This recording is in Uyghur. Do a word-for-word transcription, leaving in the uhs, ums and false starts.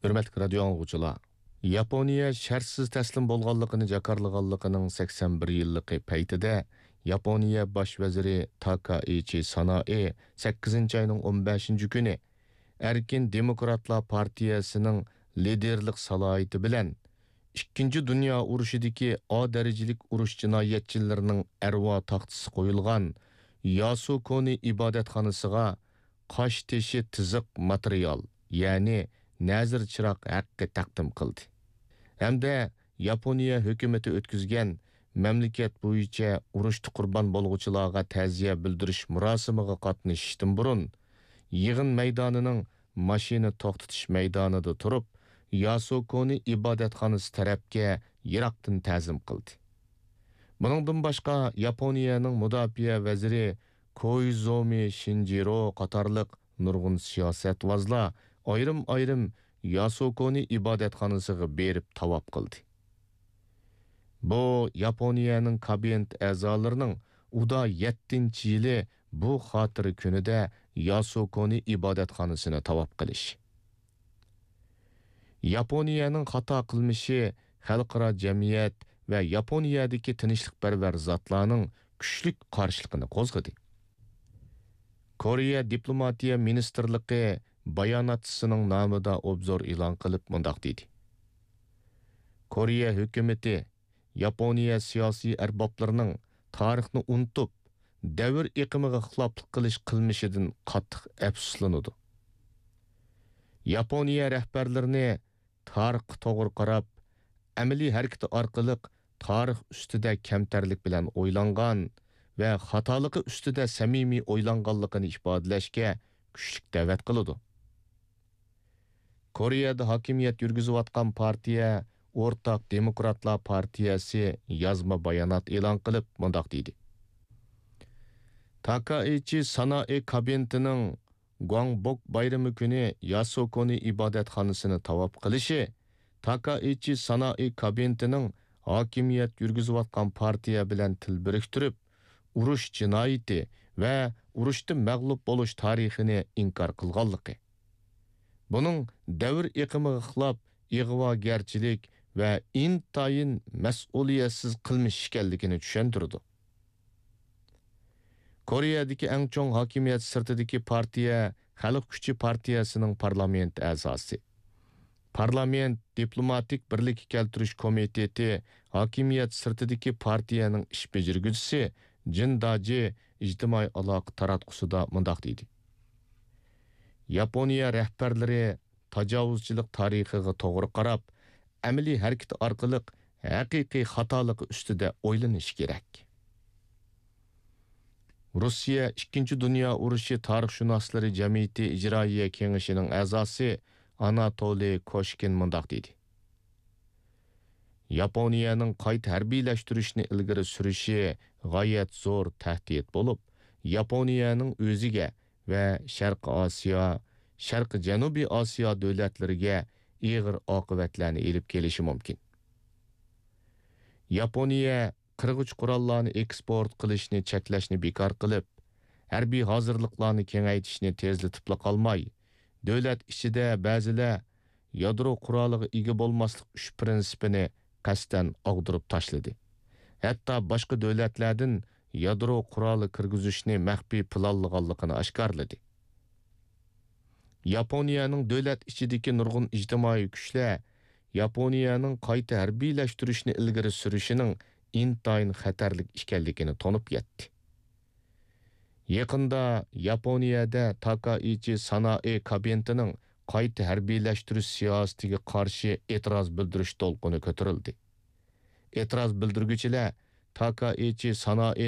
ھۆرمەتلىك رادىيو ئاڭلىغۇچىلار! ياپونىيە شەرتسىز تەسلىم بولغانلىقىنى جاكارلىغانلىقىنىڭ سەكسەن بىر يىللىقى پەيتىدە، ياپونىيە باش ۋەزىرى تاكائىچى سانائى سەككىزىنچى ئاينىڭ ئون بەشىنچى كۈنى ئەركىن دېموكراتلار پارتىيەسىنىڭ لىدېرلىق سالاھىيىتى بىلەن ئىككىنچى دۇنيا ئۇرۇشىدىكى ئا دەرىجىلىك ئۇرۇش جىنايەتچىلىرىنىڭ ئەرۋا تاختىسى قويۇلغان ياسۇكونى ئىبادەتخانىسىغا قاش تېشى تىزىق ماتېرىيال، يەنى نەزىر چىراغ ھەققى تەقدىم قىلدى ھەمدە ياپونىيە ھۆكۈمىتى ئۆتكۈزگەن مەملىكەت بويىچە ئۇرۇشتا قۇربان بولغۇچىلارغا تەزىيە بىلدۈرۈش مۇراسىمىغا قاتنىشىشتىن بۇرۇن، يىغىن مەيدانىنىڭ ماشىنا توختىتىش مەيدانىدا تۇرۇپ، ياسۇكونى ئىبادەتخانىسى تەرەپكە يىراقتىن تەزىم قىلدى. بۇنىڭدىن باشقا، ياپونىيەنىڭ مۇداپىئە ۋەزىرى كوئىزومى شىنجىرو قاتارلىق نۇرغۇن سىياسەتۋازلار ئايرىم-ئايرىم ياسۇكونى ئىبادەتخانىسىغا بېرىپ تاۋاپ قىلدى. بۇ ياپونىيەنىڭ كابىنېت ئەزالىرىنىڭ ئۇدا يەتتىنچى يىلى بۇ خاتىرە كۈنىدە ياسۇكونى ئىبادەتخانىسىنى تاۋاپ قىلىش. ياپونىيەنىڭ خاتا قىلمىشى خەلقئارا جەمئىيەت ۋە ياپونىيەدىكى تىنچلىقپەرۋەر زاتلارنىڭ كۈچلۈك قارشىلىقىنى قوزغىدى. كورېيە دىپلوماتىيە مىنىستىرلىقى باياناتچىسىنىڭ نامىدا ئوبزور ئېلان قىلىپ مۇنداق دېدى: كورېيە ھۆكۈمىتى ياپونىيە سىياسىي ئەربابلىرىنىڭ تارىخنى ئۇنتۇپ، دەۋر ئېقىمىغا خىلاپلىق قىلىش قىلمىشىدىن قاتتىق ئەپسۇسلىنىدۇ. ياپونىيە رەھبەرلىرىنى تارىخقا توغرا قاراپ، ئەمەلىي ھەرىكىتى ئارقىلىق تارىخ ئۈستىدە كەمتەرلىك بىلەن ئويلانغان ۋە خاتالىقى ئۈستىدە سەمىمىي ئويلانغانلىقىنى ئىپادىلەشكە كۈچلۈك دەۋەت قىلىدۇ. كورېيەدە ھاكىمىيەت يۈرگۈزۈۋاتقان پارتىيە ئورتاق دېموكراتلار پارتىيەسى يازما بايانات ئېلان قىلىپ مۇنداق دېدى: تاكائىچى سانائى كابىنېتىنىڭ گۇاڭبوك بايرىمى كۈنى ياسۇكونى ئىبادەتخانىسىنى تاۋاپ قىلىشى تاكائىچى سانائى كابىنېتىنىڭ ھاكىمىيەت يۈرگۈزۈۋاتقان پارتىيە بىلەن تىل بىرىكتۈرۈپ، ئۇرۇش جىنايىتى ۋە ئۇرۇشتا مەغلۇپ بولۇش تارىخىنى ئىنكار قىلغانلىقى، بۇنىڭ دەۋر ئېقىمىغا خىلاپ ئىغۋاگەرچىلىك ۋە ئىنتايىن مەسئۇلىيەتسىز قىلمىش ئىكەنلىكىنى چۈشەندۈرىدۇ. كورېيەدىكى ئەڭ چوڭ ھاكىمىيەت سىرتىدىكى پارتىيە خەلق كۈچى پارتىيەسىنىڭ پارلامېنت ئەزاسى، پارلامېنت دىپلوماتىك بىرلىككە كەلتۈرۈش كومىتېتى ھاكىمىيەت سىرتىدىكى پارتىيەنىڭ ئىش بېجىرگۈچىسى جىن داجى ئىجتىمائىي ئالاقە تاراتقۇسىدا مۇنداق دېدى: ياپونىيە رەھبەرلىرى تاجاۋۇزچىلىق تارىخىغا توغرا قاراپ، ئەمەلىي ھەرىكىتى ئارقىلىق ھەقىقىي خاتالىقى ئۈستىدە ئويلىنىشى كېرەك. روسىيە ئىككىنچى دۇنيا ئۇرۇشى تارىخشۇناسلىرى جەمئىيىتى ئىجرائىيە كېڭىشىنىڭ ئەزاسى ئاناتولىي كوشكىن مۇنداق دېدى: ياپونىيەنىڭ قايتا ھەربىيلەشتۈرۈشنى ئىلگىرى سۈرۈشى غايەت زور تەھدىت بولۇپ، ياپونىيەنىڭ ئۆزىگە ۋە شەرقىي ئاسىيا، شەرقىي جەنۇبىي ئاسىيا دۆلەتلىرىگە ئېغىر ئاقىۋەتلەرنى ئېلىپ كېلىشى مۇمكىن. ياپونىيە قىرغۇچ قوراللارنى ئېكسپورت قىلىشنى چەكلەشنى بىكار قىلىپ، ھەربىي ھازىرلىقلارنى كېڭەيتىشنى تېزلىتىپلا قالماي، دۆلەت ئىچىدە بەزىلەر يادرو قورالىغا ئىگە بولماسلىق ئۈچ پىرىنسىپىنى قەستەن ئاغدۇرۇپ تاشلىدى. ھەتتا باشقا دۆلەتلەردىن يادرو قورالى كىرگۈزۈشنى مەخپىي پىلانلىغانلىقىنى ئاشكارىلىدى. ياپونىيەنىڭ دۆلەت ئىچىدىكى نۇرغۇن ئىجتىمائىي كۈچلەر ياپونىيەنىڭ قايتا ھەربىيلەشتۈرۈشنى ئىلگىرى سۈرۈشىنىڭ ئىنتايىن خەتەرلىك ئىكەنلىكىنى تونۇپ يەتتى. يېقىندا ياپونىيەدە تاكائىچى سانائى كابىنېتىنىڭ قايتا ھەربىيلەشتۈرۈش سىياسىتىگە قارشى ئېتىراز بىلدۈرۈش دولقۇنى كۆتۈرۈلدى. ئېتىراز بىلدۈرگۈچىلەر تاكائىچى سانائى